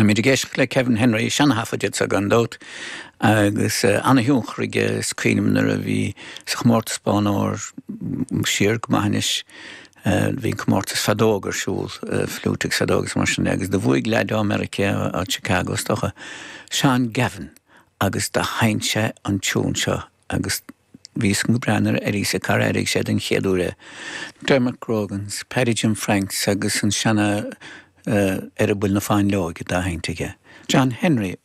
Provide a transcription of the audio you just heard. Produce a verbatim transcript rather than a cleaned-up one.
Táimid ag éisteacht le Kevin Henry seanathaifead sa gan dabht agus uh, an-thionchar aige is cuimhin liom nuair a bhí sa chomórtas Bonn Óir siar go maith anois bhí comórtas feadóg ar siúl fliúit agus feadóg mar sin agus do bhuaigh leaid ó Meiriceá ó Chicago is dócha Sean Gavin agus do sheinn sé an tiún seo agus bhí go breanar ar sa car airigh sé den chéad uair. Dermot Grogans, Paddy Jim Franks agus an seana uh, ar a bhfuil na fáinleoige dá sheinnt aige. John Henry a